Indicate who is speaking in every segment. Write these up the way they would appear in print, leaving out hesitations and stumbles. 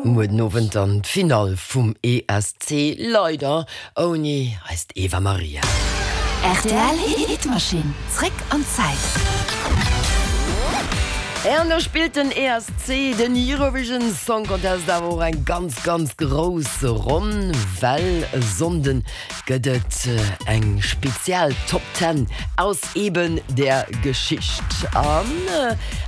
Speaker 1: Muer den Owend dann d'Finall vum ESC, leider ouni eist Eva Maria.
Speaker 2: Rtl Hitmaschinn, zréck an d'Zäit.
Speaker 1: An do spillt den ESC, den Eurovision Song Contest, awer och eng ganz, ganz grouss Ronn, well e Sonnden gëtt et eng spezial Top Ten aus eben der Geschicht an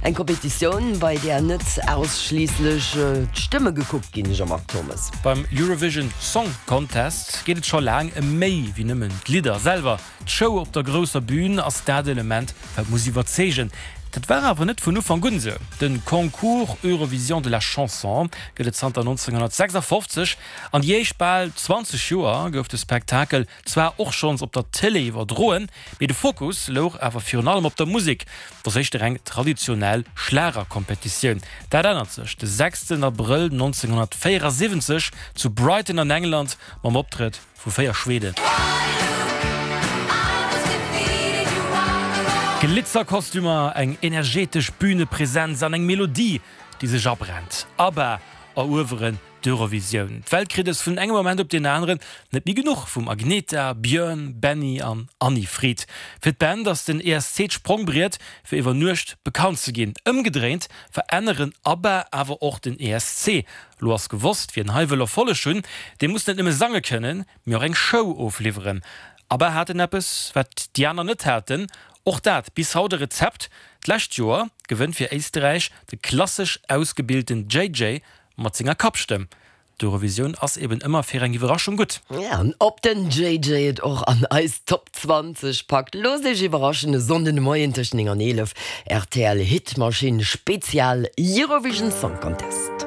Speaker 1: eng Kompetitioun, bei där net ausschliisslech d'Stëmme gekuckt ginn, Jean-Marc Thommes.
Speaker 3: Beim Eurovision Song Contest geet et scho laang ëm méi wéi nëmmen d'Lidder selwer. D'Show op der grousser Bün ass dat Element, wat muss iwwerzeegen. Dat war awer net vun Ufank un esou. De Concours Eurovision de la Chanson gëtt et zanter 1956 An déi éischt bal 20 Joer gouf de Spektakel zwar och schonns op der Tëlee iwwerdroen, mee de Fokus louch awer virun allem op der Musek. Et ass éischter eng traditionell Schlagerkompetitioun. Dat ännert sech de sechsten Abrëll 1974 zu Brighton an England mam Optrëtt vu 4 Schweden. Glitzerkostümer, eng energetesch Bünepresenz an eng Melodie, déi sech abrennt. ABBA erueweren D'Eurovisioun. D'Welt kritt es vun engem Moment op deen aneren net méi genuch vum Agnetha, Björn, Benny an Anni-Frid. Fir d'Band ass den ESC d'Sprongbriet fir iwwer Nuecht bekannt ze ginn. Ëmgedréint veränneren ABBA awer och den ESC. Lo ass gewosst, wien hei wëll Erfolleg hunn, dee muss net nëmme sange kënnen, mee och eng Show ofliwweren. ABBA haten eppes, wat déi aner net haten, och dat bis haut e Rezept. D'lescht Joer gewënnt fir Éisterräich de klassesch ausgebilten JJ Mat senger Kappstëmm. D'Eurovisioun ass eben ëmmer fir eng Iwwerraschung gutt.
Speaker 1: An ob den JJ et och an eis Top 20 packt, loosst iech iwwerraschen e Sonnden de Moien tëscht 9 an 11, rtl Hitmaschinn Spezial Eurovision Song Contest.